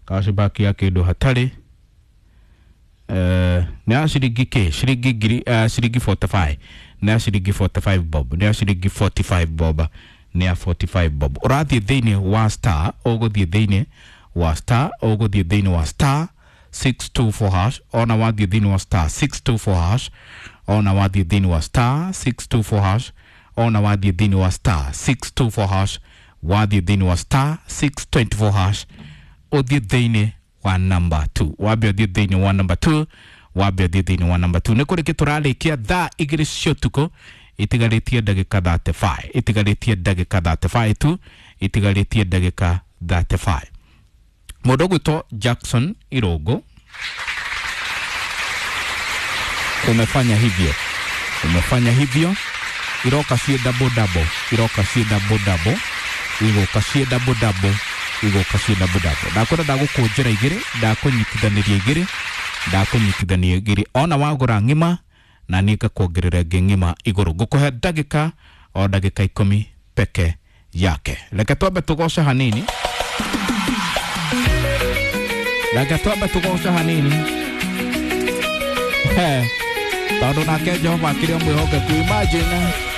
Cashback ya kĩndũ hatarĩ. Nĩ ya ciringi kĩ ciringi ngiri, ciringi 45, nĩ ya ciringi 45 bob, nĩ ya ciringi 45 bob, nĩ ya 45 bob. Ũrathiĩ thĩinĩ wa star, ũgũthiĩ thĩinĩ wa star, ũgũthiĩ thĩinĩ wa star 624 hash. Ona wathiĩ thĩinĩ wa star 624 hash, ona wathiĩ thĩinĩ wa star 624 hash, ona wathiĩ thĩinĩ wa star 624 hash, wathiĩ thĩinĩ wa star 624 hash, ũthiĩ thĩinĩ wa number 2, wambe ũthiĩ thĩinĩ wa number 2, wambe ũthiĩ thĩinĩ wa number 2. Nĩ kũrĩkĩ tũrarĩkia thaa 2 cia ũtukũ itigarĩtie ndagĩka 35, itigarĩtie ndagĩka 35 tu, itigarĩtie ndagĩka 35. Mũndũ ũgwĩtwo Jackson Irũngũ, umefanya hivyo, umefanya hivyo, iroka ciĩ double double, iroka ciĩ double double, igũka ciĩ double double, igũka ciĩ double double. Ndakwĩra ndagũkũnjĩra igĩrĩ, ndakũnyitithanĩria igĩrĩ, ndakũnyitithania igĩrĩ. Ona wagũra ng'ima na niĩ ngakuongerera ĩngĩ ng'ima igũrũ. Ngũkũhe ndagĩka o ndagĩka 10 peke yake. Reke twambe tũgoce hanini, reke twambe tũgoce hanini. He, tondũ nake Jehova akĩrĩ o mwĩhokeku. Imagine.